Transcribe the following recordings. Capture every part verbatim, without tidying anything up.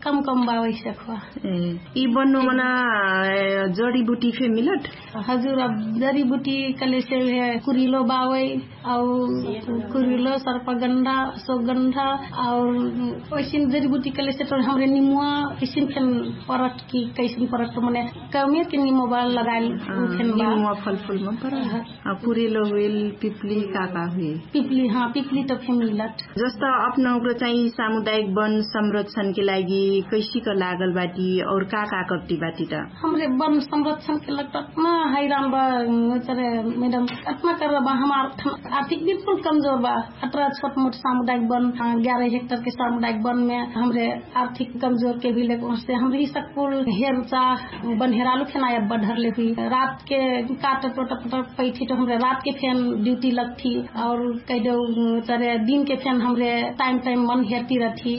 कम कम बा वैसे खुवा। यि बन्नो मना जडीबुटी फे मिलट? हजुर, अब जडीबुटी कलेसे कुरिलो बावै, औ कुरिलो सर्पगन्धा, अशोकगन्धा, और वैसिन जडीबुटी कलेसे तो हमरे निमुवा वैसिन फेन परट कि कैसिन परट तो मने कमे के निमो बा लगाइल। फेन बा निमुवा फलफुल मन पर। कुरिलो हुइल, पिपली का का हुइल? पिपली हाँ, पिपली तो फे मिलट। जस्त अपना उग्र चाहिँ सामुदायिक वन संरक्षणके लागि कैसिक लागल बाटी और का का कट्टी बाटी त? हमरे वन संरक्षणके लगत अतना हैरान बा। चरे मैडम, अतना कर बा हमार आर्थिक बिल्कुल कमजोर बा। अतरा छोट मोट सामुदायिक वन ग्यारह हेक्टर के सामुदायिक वन में हमरे आर्थिक कमजोर के भी लेकर से हमरे ही सकूल हेरचा बन्हेरालु फेनाया बढरले हुई। रात के काट टोट पैठी तो हमरे रात के फेन ड्यूटी लगठी। और कहिदेउ चरे दिन के फेन हमरे टाइम टाइम मन हेरती रहठी।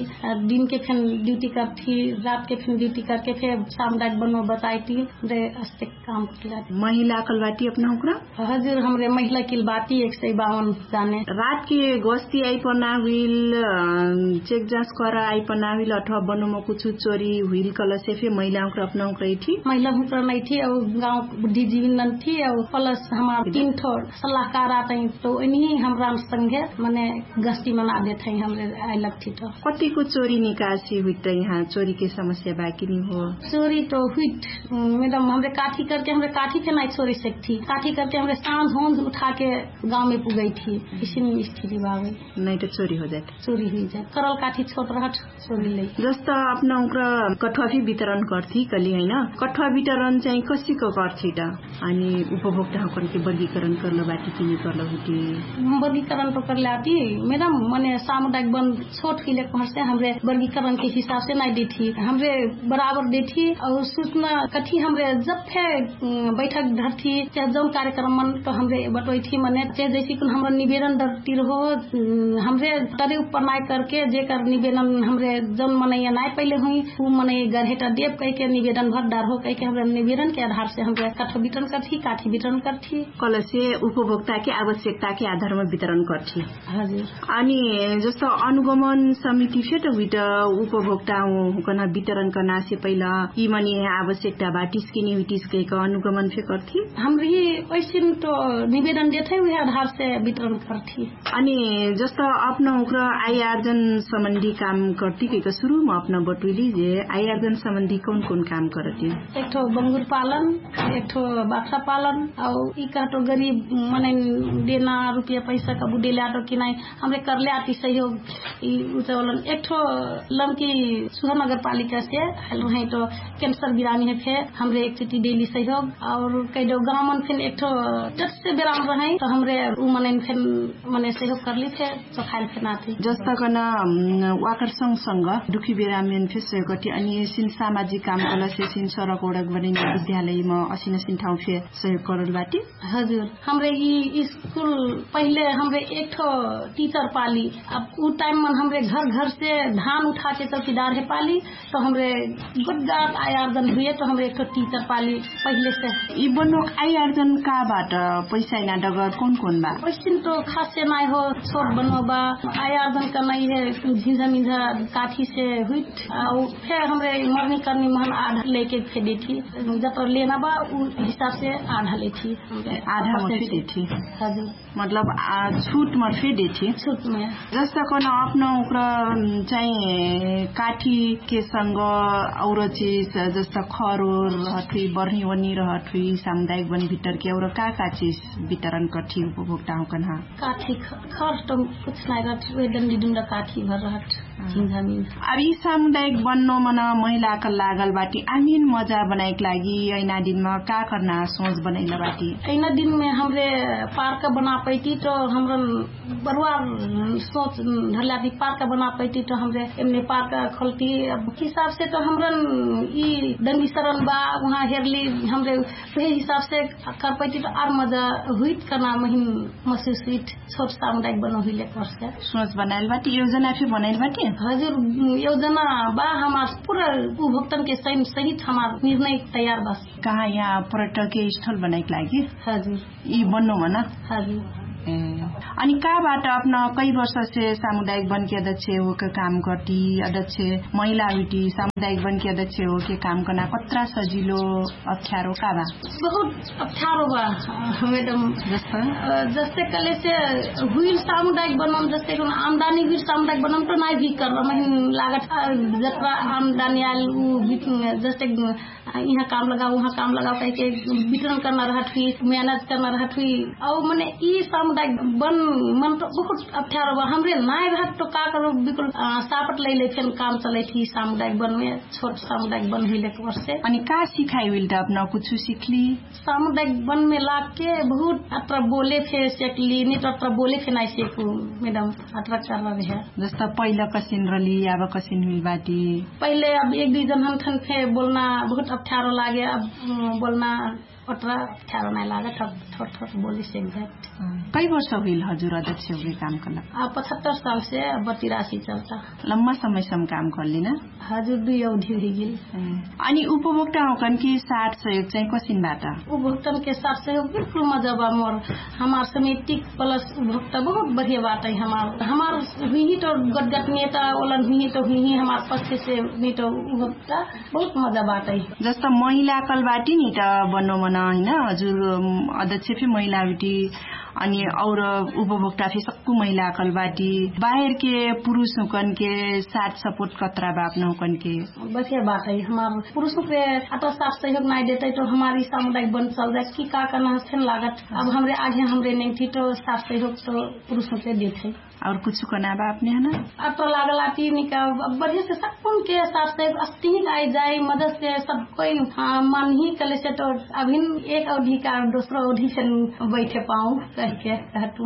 दिन के फेन ड्यूटी करठी, रात के फेन ड्यूटी करके फेन सामुदायिक बनो बताइटी। हमरे अस्ते काम करला। महिला कलवाटी अपना हुक्रा? हजुर, हमरे महिला किलबाती एक सय बावन जाने। रात के गोस्ती आइपना हुइल, चेक जाँच कर आइपना हुइल अथवा बनोमा कुछु चोरी हुइल कलसे फे महिला हुक्रा अपना हुक्रा इठी? महिला हुक्रा नैठी। औ गाउँ बुद्धिजीवी नन्ठी औ प्लस हमार तीन ठो सल्लाहकार आतै तो उन्ही हमरा संगे मने गस्ती मना देत है। हमरे आइलक थी तो कतिको चोरी निकासी हुइत यहाँ चोरी के समस्या बाकी नि हो? चोरी तो हुइत। मैडम, हमरे काठी करके हमरे काठी के नाइ छोरी सकथी। काठी करके हमरे साँझ होंझ उठाके गाउँमे पुगैथी। इसिन स्थिति बाबै। नाइ त चोरी हो जात। चोरी हुइ जात। करल काठी छोट रहत चोरी लै। जस्त अपना उक्र कठुवा फि वितरण कर्थी कली हैन? कठुवा वितरण चाहिँ कसिक कर्थी त? अनि उपभोक्ता हकन के वर्गीकरण करल बाटी कि नि करल हुती? वर्गीकरण तो करल आती। मैडम, मने सामुदायिक वन छोट हुइले कहसे हमरे वर्गीकरण के हिसाब से नाइ देथी। हमरे बराबर देथी। और सूचना कथी हमरे जब फे बैठक धरथी चाहे जौन कार्यक्रम मन तो हमरे बटोइथी। मने चाहे जैसे कुन हमरा निवेदन डरती रहो, हमरे तरे उपर नाइ करके जेकर निवेदन हमरे जौन मनैया नाइ पहिले हुइ उ मनैया गर्हेटा देब कहिके निवेदन भर डारहो कहिके हमरे निवेदन के आधार से हमरे कठो वितरण करथी, काठी वितरण करथी। कलसे उपभोक्ता के आवश्यकता के आधार मा वितरण करथी। हजुर। अनि जस्तो अनुगमन समिति फे त हुइत उपभोक्ता हुकन वितरण करना से पहिला यि मनी आवश्यकता बाटिस कि नि हुइटिस कहिक अनुगमन फे करथी? हमरी ओइसिन तो निवेदन देथै उहे आधार से वितरण करथी। अनि जस्तो अपना उक्र आयार्जन सम्बन्धी काम करती कहिक सुरुमा अपना बटुइली जे आयार्जन सम्बन्धी कौन कौन काम करती? एकठो बंगुर पालन, एकठो बाख्रा पालन, औ यि कहटो गरीब मनैन देना रुपिया पैसा कबु देले आटो कि नाइ हमरे करले आती सहयोग। यि उचावलन एकठो लमकी सुहर नगरपालिका से आइल रहै तो क्यान्सर बिरामी है फे हमरे एकचोटी देली सहयोग। और कैदो गाउँमन फेन एकठो जत्से बिराम रहै तो हमरे उ मनैन फेन मने सहयोग करली फे। चोखाइल फेन आती जस्ता कन वाकर संग संग दुखी बिरामीन फे सहयोग करती अनि सिन सामाजिक काम कलसे सिन सरक ओडक बनिन विद्यालयमा असिन सिन ठाउँ फे सहयोग करल बाटी। हजुर, हमरे यि स्कुल पहिले हमरे एकठो टिचर पाली। अब उ टाइम मन हमरे घर घर से धान उठाके चौकीदार हे पाली। तो हमरे गोटगाट आयार्जन हुए तो हमरे एकठो टिचर पाली। पहिले से यि बनो आयार्जन का बाट? पैसा इना डगर कौन कौन बा? पैसिन तो खासे नाइ हो। छोट बनो बा आयार्जन का नाइ हे। झिझा मिझा काठी से हुइत। फेर हमरे मरनी करनी महन आधा लेके फेर देठी। जब लेना बा उ हिसाब से आधा लेठी। आधा मर फे देठी। हजुर। मतलब छुट मर फे देठी। छुट में जस्ता कौन अपना उक्र चाहिँ काठी के संग और चिज जस्ता खरो रहत हुई बर्नी वनी रहत हुई सामुदायिक बन भितर के और का का चिज वितरण कठी उपभोक्ता हो कन्हा? काठी खर त कुछ नाइ रहत हुई डन्डी डुन्डा काठी भर रहत। अब यि सामुदायिक बन्नो मन महिलाक लागल बाटी आमिन मजा बनाइक लागि ऐना दिनमा का कर्ना सोच बनैल बाटी? ऐना दिनमे हमरे पार्क बना पैती तो हमरन बरुवार सोच धरलाती पार्क बना पैती तो हमरे एमने पार्क खोलती। अब हिसाब से तो हमरन यि डंगी सरन बा उहाँ हेरली हमरे उहे हिसाब से कर पैती तो आर मजा हुइत कर्ना महिन। मसुसित छोट सामुदायिक बनो हुइले पर्छ। सोच बनाइल बाटी योजना फे बनाइल बाटी? हजुर, योजना बा हमार पुरा उपभोक्तन के सहित हमार निर्णय तयार बा। कहाँ यहाँ पर्यटक के स्थल बनाइक लागि? हजुर। यि बन्नो भन? हजुर। अनि का बाट अपना कै वर्षसे सामुदायिक बनके अध्यक्ष होके काम करती? अध्यक्ष महिला हुइटी सामुदायिक बनके अध्यक्ष होके काम करना कत्रा सजिलो? अप्ठ्यारो का बा? बहुत अप्ठ्यारो बा। मेडम जस्ता जस्ते कलेसे हुइल सामुदायिक बनम जस्ते आमदानी हुइल सामुदायिक बनम त नाइ भी करम हिन लागत। जत्रा आमदानी आइल उ जस्ते इहाँ काम लगाउ उहाँ काम लगाउ कहिके वितरण कर्ना रहत हुइ मेहनत कर्ना रहत हुइ। औ मने यि सामुदायिक बन मन त बहुत अप्ठ्यारो बा। हमरे नाइ रहत त का करो बिकुल सापट लैले फेन काम चलैत हुइ सामुदायिक बनमे। छोट सामुदायिक बन हुइले कबर्से अनि का सिखाइ हुइल त अपना कुछु सिखली? सामुदायिक बनमे लागके बहुत अत्रा बोले फे सेकली नित अत्रा बोले फे नाइ सेकु। मेडम अत्रा कर्रा रह्या। जस्ता पहिला कसिन रहली आब कसिन हुइल बाटी? पहिले अब एक दुइ जन हन्थन फे बोल्ना बहुत अप्ठ्यारो लागे। अब बोल्ना अत्रा अप्ठ्यारो नाइ लागत अब थोट थोट बोली सेक जात। कै वर्ष हुइल हजुर अध्यक्ष हुइल काम कलक? अब पचहत्तर सालसे अब तिरासी चल्ता। लम्मा समयसम काम कर्ली न? हजुर दुइ अवधि हुइगेल। अनि उपभोक्टा होकन कि साथ सहयोग चाहिँ कसिन बात? उपभोक्तन के साथ सहयोग बिल्कुल मजा बा मोर। हमार समितिक प्लस उपभोक्ता बहुत बढिया बात है। हमार हमार हुइही त गटगट नेता ओलन हुइही त हुइही हमार पक्ष से नि त उपभोक्ता बहुत मजा बात है। जस्ता महिला कल बाटी नि त बनो मन हैन हजुर अध्यक्ष फे महिला हुइटी। अनि और उपभोक्ता फे सक्कु महिला कल बाटी बाहेर के पुरुष हुकन के साथ सपोर्ट कत्रा बा अपना हुकन के? बढिया बात है हमार पुरुष हुकरे अत्रा साथ सहयोग नाइ देतै त हमार यि सामुदायिक बन चल जात कि का कर्ना हस्ते न लागत। अब हमरे आगे हमरे नैठी त साथ सहयोग त पुरुष हुकरे देतै। और कुछु कना बा अपने हना? अत्रा लागल आती निका बढिया से सक्कुन के साथ सहयोग अस्तिहिक आइ जाइ मदद से सब कोइ मानही कलेसे त अभिन एक अवधि का दोस्रो अवधि से बैठे पाउ। कहिके कहतु।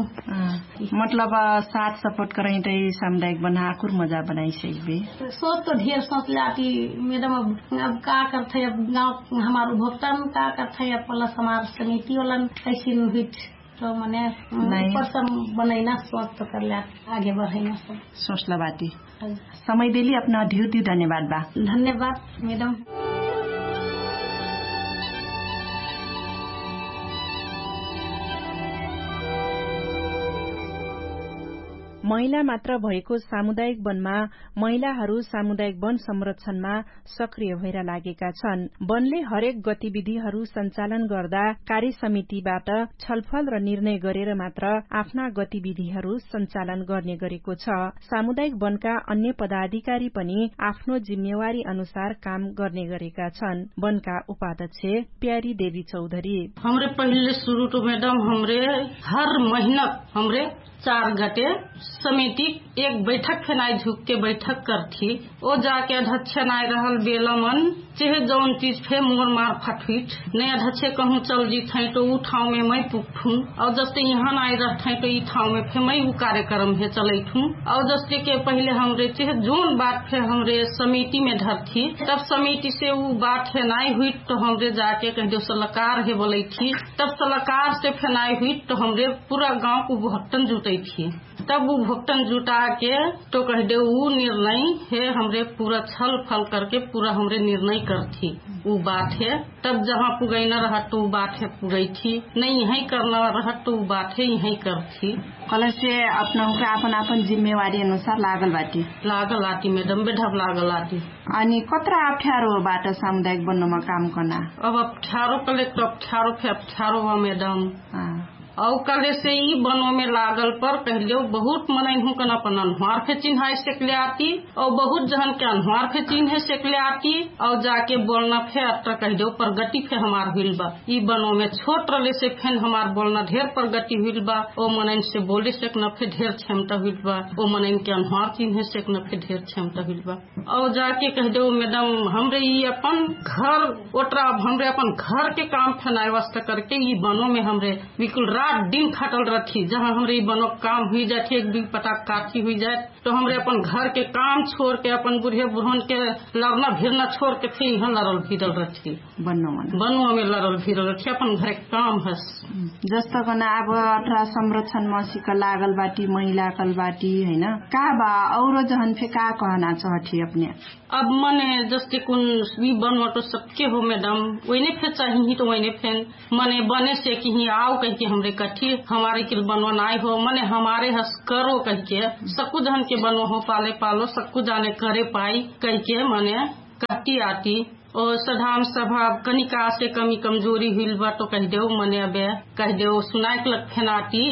मतलब साथ सपोर्ट करैं त सामुदायिक बन्हा आकुर मजा बनाइ सकबे। सोच त ढेर सोच ल्याती मेडम अब का करथै अब गाउँ हमार उपभोक्तन का करथै अब प्लस हमार समिति ओलन कैसिन हुइट त मने ऊपर सम बनैना सोच त करल्यात आगे बढैना सब। सोचला बाटी। समय देली अपना धिउ धिउ धन्यवाद बा। धन्यवाद मेडम। महिला मात्र भएको सामुदायिक वनमा महिलाहरू सामुदायिक वन संरक्षणमा सक्रिय भएर लागेका छन्। वनले हरेक गतिविधिहरू सञ्चालन गर्दा कार्य समितिबाट छलफल र निर्णय गरेर मात्र आफ्ना गतिविधिहरू सञ्चालन गर्ने गरेको छ। सामुदायिक वनका अन्य पदाधिकारी पनि आफ्नो जिम्मेवारी अनुसार काम गर्ने गरेका छन्। वनका उपाध्यक्ष प्यारी देवी चौधरी। हमरे पहिले सुरु त मेडम हमरे हर महिना हमरे चार गटे समिति एक बैठक फेनाइ झुकके बैठक करथी। ओ जाके अध्यक्ष नाइ रहल बेलमन चेहे जौन चिज फे मोर मार फटुइट नै अध्यक्ष कहूँ चल जित है त उ ठाउँमे मै पुग्ठुँ। औ जस्ते इहाँ नाइ रहत है त इ ठाउँमे फे मै उ कार्यक्रम हे चलैठुँ। औ जस्ते के पहिले हमरे चेहे जौन बात फे हमरे समितिमे धरथी तब समितिसे उ बात हे नाइ हुइट त हमरे जाके कहिदेउ सलकार हे बोलैथी। तब सलकारसे फे नाइ हुइट त हमरे पुरा गाउँक उपभोक्तन जुटैथी। तब उपभोक्तन जुटाके त कहिदेउ उ निर्णय हे हमरे पुरा छलफल करके पुरा हमरे निर्णय करथी। उ बात हे तब जहाँ पुगैना रहत त उ बात हे पुगैथी। नै इहै कर्ना रहत त उ बात हे इहै करथी। कलसे अपनहुँके आपन आपन जिम्मेवारी अनुसार लागल बाटी। लागल आटी मेडम बेढब लागल आटी। अनि कत्रा अप्ठ्यारो बाट सामुदायिक बन्नुमा काम कर्ना? अब अप्ठ्यारो कलेक त अप्ठ्यारो फे अप्ठ्यारो बा मेडम। औ कलेसे यि बनोमे लागल पर कहिदेउ बहुत मनैनहुँकन अपन अन्हुवार फे चिन्हाइ सेकले आती। औ बहुत जहनके अन्हुवार फे चिन्हे सेकले आती। औ जाके बोल्ना फे अत्रा कहिदेउ प्रगति फे हमार हुइल बा। यि बनोमे छोट रहलेसे फेन हमार बोल्ना ढेर प्रगति हुइल बा। औ मनैनसे बोले सेकना फे ढेर क्षमता हुइल बा। औ मनैनके अन्हुवार चिन्हे सेकना फे ढेर क्षमता हुइल बा। औ जाके कहिदेउ मेडम हमरे यि अपन घर ओटरा अब हमरे अपन घरके काम फेनाइ वास्ता करके यि बनोमे हमरे बिकुल रात दिन खाटल रहथी। जहाँ हमरे यि बनोक काम हुइजाथी एक दुइ पटाक काठी हुइजाथ त हमरे अपन घरके काम छोरके अपन बुढे बुढोनके लरना भिरना छोरके फे इहाँ लरल भिरल रहथी। बनोमे लरल भिरल रहथी अपन घरेक काम हस। जस्तकन आब अठरा संरक्षण मसिक लागल बाटी महिला कल बाटी हैन? का बा औरो जहन फे का कहना चहठी अपने? अब मने जस्ते कुन यि बनोट सबके हो मेडम ओइने फे चाहिही त ओइने फेन मने बने सेकिही आउ कहिके हमरे कठी हमारे किल बनवा नाइ हो मने हमारे हस करो कहिके सक्कु जहन के बनवा हो पाले पालो सक्कु जाने करे पाई कहिके मने कहती आती। और सधाम सभाव कनिका से कमी कमजोरी हुइल बा तो कहिदेउ मने अबे कहिदेउ सुनाइक लग फेनाती।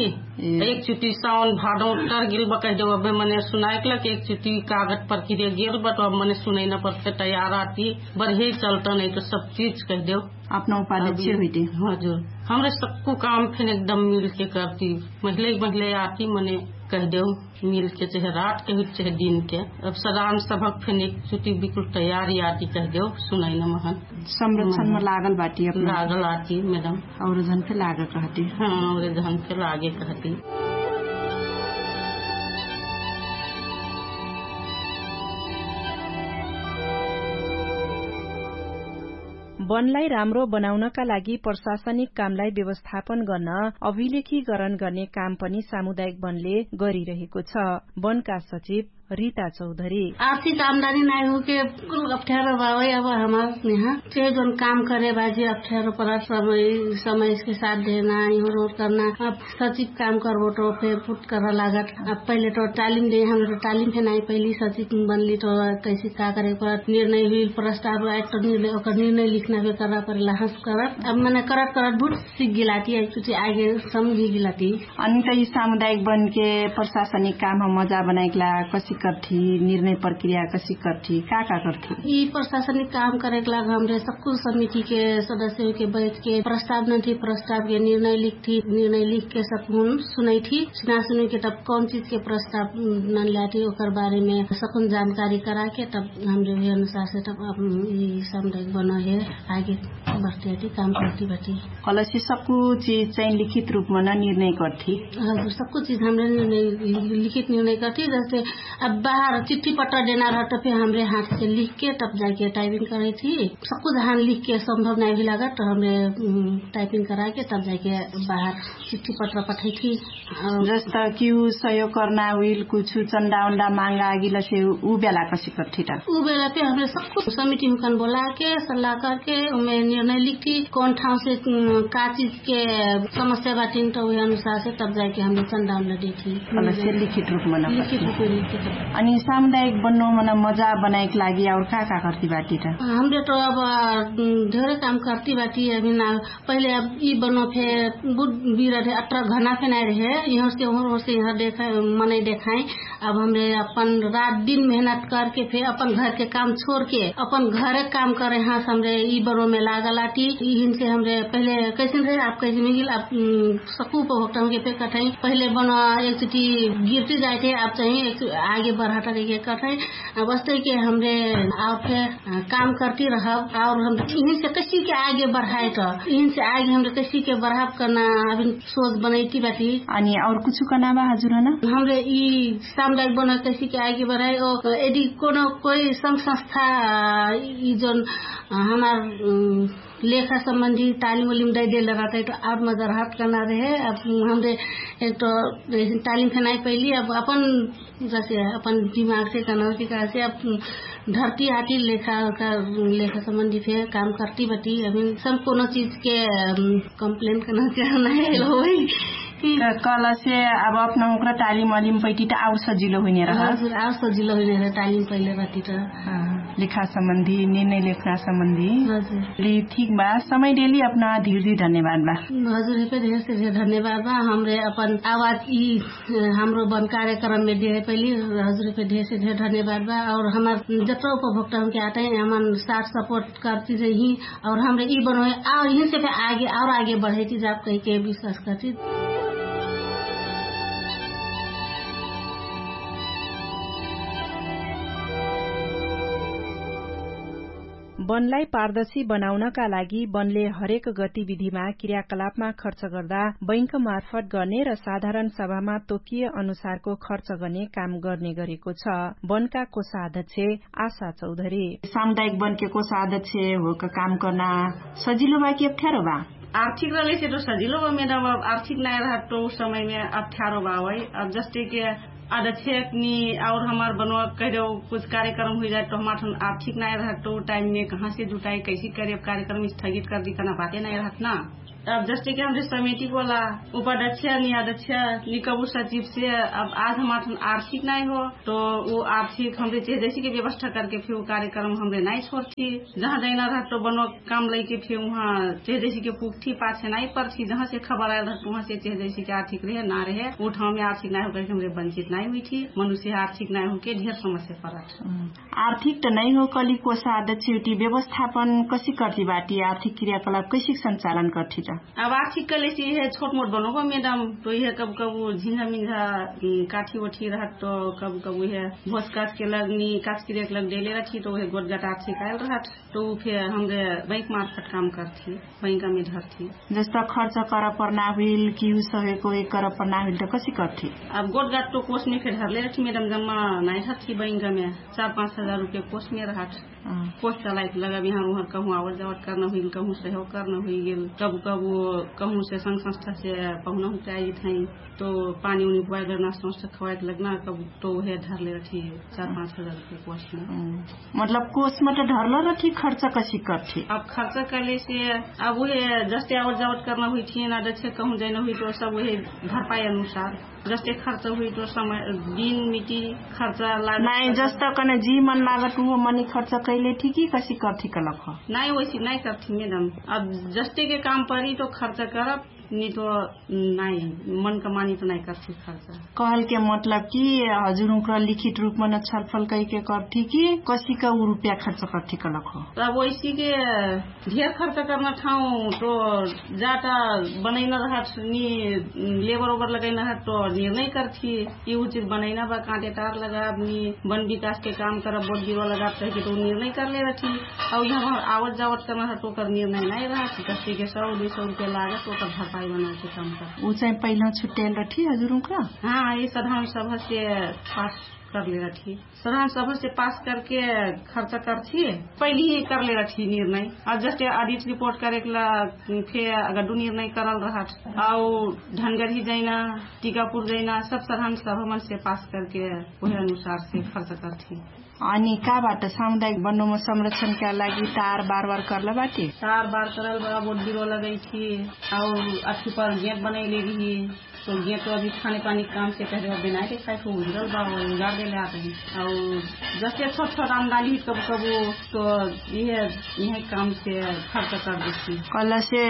एक चुटी साउन भाडौ टर गिल बा कहिदेउ अबे मने सुनाइक लग एक चुटी कागत पर किरे गिल बा तो अब मने सुनैना पर से तयार आती। बर्हे चलता नै तो सब चिज कहिदेउ अपना उपादे छे हुइते। हजुर। हमरे सक्कु काम फेन एकदम मिलके करती। महिलै महिलै आती मने कहिदेउ मिलके चहे रात के हुइते चहे दिन के। अब सदान सभक फेन एक चुटी बिकुल तयारी आती कहिदेउ सुनैना महन संरक्षण मा लागल बाटी अपना लागल आती मेडम। और जहन के लागे कहती। हाँ और जहन के लागे कहती। बनलाई राम्रो बनाउनका लागि प्रशासनिक कामलाई व्यवस्थापन गर्न अभिलेखीकरण गर्ने काम पनि सामुदायिक वनले गरिरहेको छ। वनका सचिव रिता चौधरी। आर्थिक आमदानी नाइ हुके कुल अप्ठ्यारो बावै अब हमार यहाँ चेहे जौन काम करे बाजी अप्ठ्यारो परत समय समयके साथ देना यहरो करना। अब सचिव काम करबो तो फेर फुट कर लागत। अब पहिले तो तालिम दे हमरो तालिम फेर नाइ पहिले सचिव बनली तो कैसे का करे परत निर्णय हुइल प्रस्ताव आइट तो निर्णय ओकर निर्णय लिखना फेर करना परेला हँस करत अब मने करत करत भुट सिख गिलाती है कुछ आगे समझी गिलाती। अनि त यि सामुदायिक बनके प्रशासनिक काम हम मजा बनाइकला कसी करथी निर्णय प्रक्रिया कसी करथी का का करथी? यि प्रशासनिक काम करेक लाग हमरे सक्कु समितिके सदस्यके बैठके प्रस्ताव नन्थी प्रस्तावके निर्णय लिखथी निर्णय लिखके सक्कु हुन सुनैथी। सुना सुनैके तब कौन चिजके प्रस्ताव नन्ल्याथी ओकर बारेमे सक्कुन जानकारी कराके तब हमरे उहे अनुसारसे तब यि सामुदायिक बनके आगे बढती हती काम करती बटी। कलसी सक्कु चिज चाहि लिखित रुपमा न निर्णय करथी। हजुर सक्कु चिज हमरे लिखित निर्णय करथी जस्ते अब बाहर चिट्ठी पट्टा देना रहत त फेर हमरे हाथसे लिखके तब जाइके टाइपिङ करैथी। सक्कु जहाँ लिखके सम्भव नाइ हुइलागत त हमरे टाइपिङ कराइके तब जाइके बाहर चिट्ठी पट्टा पठैथी। जस्ता कि उ सहयोग कर्ना हुइल कुछु चन्दा उन्दा माङ्गा आगिलसे उ बेला कसी करथी त? उ बेला फेर हमरे सक्कु समिति हुकन बोलाके सल्लाह करके उमे निर्णय लिखथी कौन ठाउसे का चिजके समस्या बाटिन त उहे अनुसारसे तब जाइके हमरे चन्दा उन्दा देथी। लिखित रुपमा न लिखित रुपमा लिखित। अनि सामुदायिक बन्नो मना मजा बनाइक लागि आउर का का करती बाटी त? हमरे त अब धेरै काम करती बाटी अभी ना। पहिले अब यि बनो फे बुध बिरा रहे अट्रा घना फे नाइ रहे। यहरसे ओहरसे यहर देखाइ मनै देखाइ। अब हमरे अपन रात दिन मेहनत करके फे अपन घरके काम छोरके अपन घरे काम करे हाँस हमरे यि बनो मे लागल आटी। यिहिनसे हमरे पहिले कैसन रहे अब कैसन मिल अब सकुप होक्टम के फे कठै। पहिले बनो एक चुटी गिर्ती जाइथे अब चाहि आगे बढाटा देखे कठै। अब अस्तै के हमरे आउर फे काम करती रहब आउर हमरे इहिन से कैसी के आगे बढाए त इहिन से आगे हमरे कैसी के बढाब कर्ना अभिन सोच बनैती बाटी। अनि आउर कुछु कर्ना बा हजुर हन? हमरे यि सामुदायिक बना कैसी के आगे बढाए यदि कोनो कोई संग संस्था यि जौन हमार लेखा सम्बन्धी तालिम उलिम दै देल रहतै त आउर मजा रहत कर्ना रहे। अब हमरे एक त तालिम फेनाइ पैली अब अपन जसे अपन दिमाग से कनौती का से अब धरती आती लेखा का लेखा सम्बन्धी फे काम करती बटी अभी सब कोनो चिज के कम्प्लेन कनौती ना है होइ। कल से अब अपना ओकरा तालिम अलिम पैटी त आउर सजिलो हुइने रह। हजुर आउर सजिलो हुइने रह तालिम पहिले बटी त। लेखा सम्बन्धी निर्णय लेखना सम्बन्धी। हजुर ठीक बा समय देली अपना धिर धिर धन्यवाद बा। हजुर हेपे धेर से धेर धन्यवाद बा हमरे अपन आवाज यि हाम्रो बन कार्यक्रममे देहे पैली हजुरके धेर से धेर धन्यवाद बा। और हमार जत्रा उपभोक्ता हुनके आटै हमान साथ सपोर्ट करती रही। और हमरे यि बनोहे और यिनसे फे आगे और आगे बढ़ैती जाब कहिके विश्वास करती। वनलाई पारदर्शी बनाउनका लागि वनले हरेक गतिविधिमा क्रियाकलापमा खर्च गर्दा बैंकमार्फत गर्ने र साधारण सभामा तोकिए अनुसारको खर्च गर्ने काम गर्ने गरेको छ। वनका कोषाध्यक्ष आशा चौधरी। सामुदायिक वनके कोषाध्यक्ष होक काम कर्ना सजिलो बा कि अप्ठ्यारो बा? आर्थिक रहले से तो सजिलो बा मेरा बा आर्थिक नाय रहत तो उस समय में अप्ठ्यारो बा वही। अब जस्ते के आदछे अक्नी और हमार बनवा कहिदेउ कुछ कार्यक्रम हुइजाए तो हमार ठन आर्थिक नाय रहत तो टाइम में कहाँ से जुटाई कैसी करे अब कार्यक्रम स्थगित कर दी कना बाते नाय रहत ना। अब जस्ते कि हमरे समितिक वाला उपाध्यक्ष नियाध्यक्ष निकबु सचिव से अब आज हमार आर्थिक नाइ हो, तो उ आर्थिक हमरे चेह जैसे कि व्यवस्था करके फिर उ कार्यक्रम हमरे नाइ छोरथी। जहाँ जैना रहत तो बनो काम लैके फिर उहाँ चेह जैसे कि पुगथी पाछे नाइ परथी। जहाँ से खबर आयल रहत उहाँ से चेह जैसे कि आर्थिक रहे ना रहे उ ठाउँ में आर्थिक नाइ हो कहिके हमरे बंचित नाइ हुइथी। मनुष्य आर्थिक नाइ होके ढेर समस्या परत। आर्थिक त नै हो कली कोसा अध्यक्ष उटी व्यवस्थापन कसी कर्ठी बाटी आर्थिक क्रियाकलाप कैसिक संचालन कर्ठी त? अब आर्थिक कलेसी इहे छोट मोट बनो हो मेडम। तो इहे कबु कबु झिन्झा मिन्झा काठी ओठी रहत तो कबु कबु इहे भोज काच के लग नि काच क्रियाक लग देले रहठी तो उहे गोटगाट आर्थिक आयल रहत। तो उ फेर हमरे बैंक मार्फत काम कर्ठी। बैंका मे धर्ठी। जस्ता खर्च करब पर्ना हुइल कि उ सहेको एक करब पर्ना हुइल त कसी कर्ठी? अब गोटगाट तो कोस मे फेर धरले रहठी मेडम जम्मा नाइ रहठी बैंका मे चार पाँच हजार रुपे कोस मे रहठ। कोस चलाइक लगब यहाँ उहाँ कहूँ आवत जावत कर्ना हुइल कहूँ सहेको कर्ना हुइगेल। कबु कबु कहूँ से संग संस्था से पहुना हुइक आइजित है। तो पानी उनी पुवाइक लगना संस्था खवाइक लगना कबु तो उहे धरले रहठी चार पाँच हजार रुपे कोस मे। मतलब कोस मत ढर्ल रहठी खर्च कसी कर्ठी? अब खर्च कलेसे अब उहे जस्ते आवत जावत कर्ना हुइठी ना जस्ते कहूँ जैना हुइठी तो सब उहे भरपाई अनुसार जस्ते खर्च हुइठी तो समय दिन मिटी खर्च लाग नाइ जस्ता कने जी मन लागत उहो मनी खर्च कैले ठी कि कसी कर्ठी कलक हो? नाइ वैसी नाइ कर्ठी मेडम। अब जस्ते के काम परी तो खर्च करब नि तो नाइ मन कमानी तो नाइ कर्ठी खर्च। कहल के मतलब कि हजुर उनकर लिखित रूपमा न छलफल कैके कर्ठी कि कसी का उ रुपया खर्च कर्ठी कलक हो? अब वैसी के ढेर खर्च कर्ना ठाउँ तो जाटा बनैना रहत नि लेबर ओबर लगैना रहत तो निर्णय कर्ठी कि उ चिज बनैना बा काँटे तार लगाब नि वन विकास के काम करब बोट बिरुवा लगाब कहिके तो उ निर्णय कर्ले रहठी। अब यहाँ आवत जावत कर्ना रहत ओकर निर्णय नाइ रहत जस्ते के सौ दुइ सौ रुपया लागत ओकर भरपाई बनाके काम कर। उ चाहिँ पहिला छुट्याइल रहठी हजुर उनका? हाँ यि सधारण सभा से पास कर्ले रहठी। सधारण सभा से पास करके खर्च कर्ठी। पहिली ही कर्ले रहठी निर्णय। अब जस्ते अडिट रिपोर्ट करेक ला फेर अगर दु निर्णय करल रहठ। आउ धनगरी जैना टिकापुर जैना सब सधारण सभा मन से पास करके उहे अनुसार से खर्च कर्ठी। अनि का बाट सामुदायिक बन्नुम संरक्षणका लागि तार बार बार कर्ल बाटे? तार बार करल बा बोट बिरुवा लगैठी। आउ अथि पर गेट बनैले रही। तो गेट अभी खाने पानी काम से कहले बा बेनाइ के खाइ को उजरल बा उजाड़ देले आते हैं। आउ जस्ते छोट छोट आमदानी कबु कबु तो इहे इहे काम से खर्च कर देती। कहला से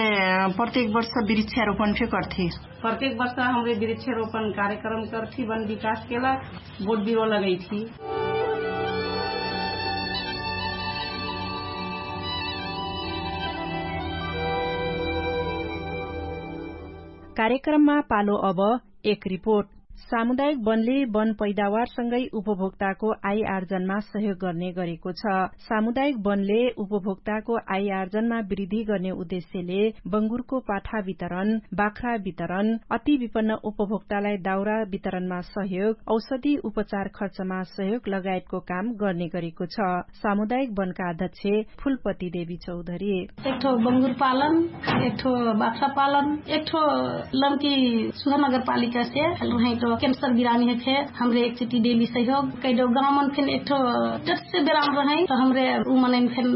प्रत्येक वर्ष वृक्षारोपण फे करती। प्रत्येक वर्ष हमरे वृक्षारोपण कार्यक्रम करती वन विकास केला बोट बिरुवा लगैती। कार्यक्रममा पालो अब एक रिपोर्ट। सामुदायिक वनले वन पैदावारसँगै उपभोक्ताको आय आर्जनमा सहयोग गर्ने गरेको छ। सामुदायिक वनले उपभोक्ताको आय आर्जनमा वृद्धि गर्ने उद्देश्यले बंगुरको पाठा वितरण, बाख्रा वितरण, अति विपन्न उपभोक्तालाई दाउरा वितरणमा सहयोग, औषधि उपचार खर्चमा सहयोग लगायतको काम गर्ने गरेको छ। सामुदायिक वनका अध्यक्ष फुलपति देवी चौधरी। एकठो बंगुर पालन, एकठो बाख्रा पालन, एकठो लमकी सुधा नगरपालिका से रहै तो क्यान्सर बिरामी है फे हमरे एकचोटी डेली सहयोग कैदो गाउँ मन फेन एकठो जट से बेराम रहै तो हमरे उ मनैन फेन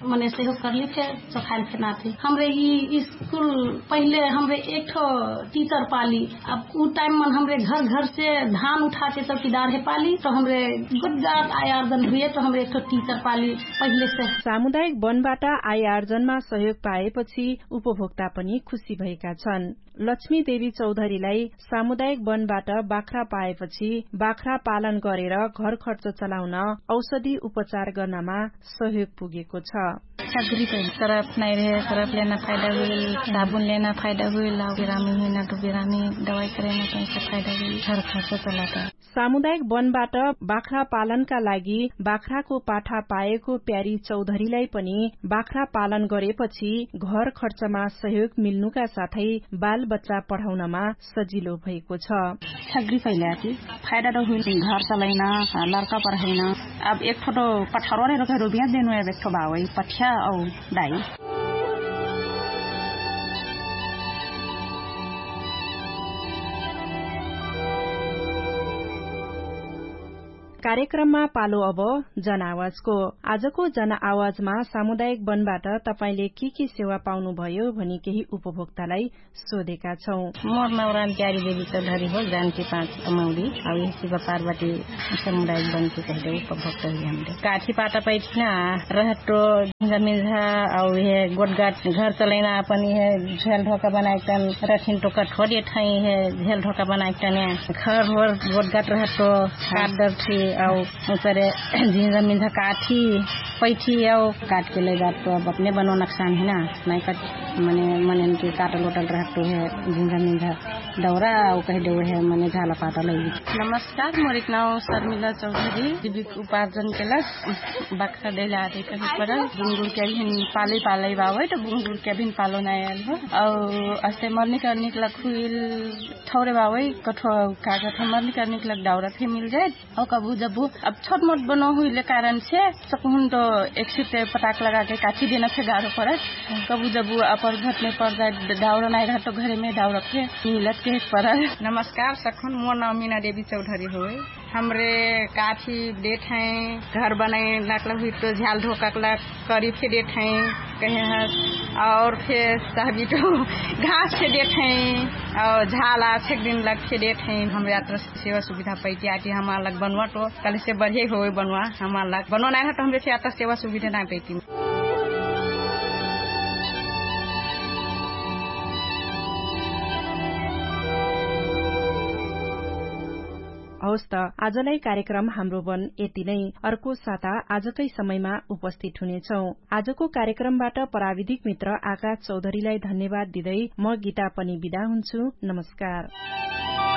मने सहयोग करली फे चखाइल फेन आथे। हमरे यि स्कुल पहिले हमरे एकठो टिचर पाली। अब उ टाइम मन हमरे घर घर से धान उठाके चौकीदार हे पाली तो हमरे गुटगाट आयार्जन हुए तो हमरे एकठो टिचर पाली। पहिले से सामुदायिक वनबाट आयार्जनमा सहयोग पाएपछि उपभोक्ता पनि खुसी भएका छन्। लक्ष्मी देवी चौधरीलाई सामुदायिक वनबाट बाख्रा पाएपछि बाख्रा पालन गरेर घर खर्च चलाउन औषधि उपचार गर्नमा सहयोग पुगेको छ। छाग्री पहिले सरफ नाइ रहे, सरफ लेना फाइदा हुइल, साबुन लेना फाइदा हुइल, आउ बिरामी हुइना तो बिरामी दवाई करेना पैसा फाइदा हुइल, घर खर्च चलाता। सामुदायिक वनबाट बाख्रा पालनका लागि बाख्राको पाठा पाएको प्यारी चौधरीलाई पनि बाख्रा पालन गरेपछि घर खर्चमा सहयोग मिल्नुका साथै बालबच्चा पढाउनमा सजिलो भएको छ। छाग्री फैलाकी फाइदा त हुइल, घर चलैना, लर्का पढैना। अब एकठो त पठारो रे रोके रुबिया देनु, अब एकठो बावै पठ्या औ दाई। कार्यक्रममा पालो अब जन आवाजको। आजको जन आवाजमा सामुदायिक वनबाट तपाईंले के के सेवा पाउनुभयो भनी केही उपभोक्तालाई सोधेका छौं। मोर नौरान प्यारी देवी चौधरी हो, जानकी पाँच अमौरी। अब यही शिव पार्वती समुदायिक वनकी कहिदे उपभोक्ता हुई हमरे काठी पाटा पैठिना रहटो जमिन झा। अब यह गोटगाट घर चलैना अपन यह झेल ढोका बनाइक तन रखिन टोका ठोर यठै यह झेल ढोका बनाइक तन घर होर गोटगाट रहटो काट दरठी। अब उसरे झिन जमिन झा काठी पैठी अब काटके लैजात तो अब अपने बनो नक्सान है ना। नाइ कट मने मनेन के काटल ओटल रहत तो है जिन्जा मिन्जा दौरा। उ कहि देउ है मने झाला पाता लैली। नमस्कार, मोर एक नाउ शर्मिला चौधरी। जीविक उपार्जन के लग बाख्रा दैला आदि कहि परल। बुंगुर के अभिन पालै पालै बावै त बुंगुर के अभिन पालो नाइ आयल हो। औ अस्ते मर्निक अर्निक लग हुइल ठौरे बावै कठो कागत है मर्निक अर्निक लग दाउरा फे मिल जाए। औ कबु जबु अब छोट मोट बनो हुइले कारण से सकहुन तो एक सिट पटाक लगाके काठी देना फे गारो परत। कबु जबु अपर घटने पर जाए दाउरा नाइ रहत तो घरेमे दाउरा फे मिलत के परत। नमस्कार सकहुन, मोर नाउ मिना देवी चौधरी होइ। हमरे काठी देठै घर बनाइ नाकला हुइ तो झ्याल धोकाकला करी फे देठै कहे हस। और फे सहबी तो घास फे देठै और झाल आछेक दिन लग फे देठै। हमरे यात्रा सेवा सुविधा पैति आटी हमार लग बनवा तो कल से बढिया होइ बनवा। हमार लग बनवा नाइ रहत हमरे यात्रा सेवा सुविधा नाइ पैति। हौस्त आजलाई कार्यक्रम हाम्रो बन यति नै। अर्को साता आजकै समयमा उपस्थित हुनेछौं। आजको कार्यक्रमबाट प्राविधिक मित्र आकाश चौधरीलाई धन्यवाद दिँदै म गीता पनि बिदा हुन्छु। नमस्कार।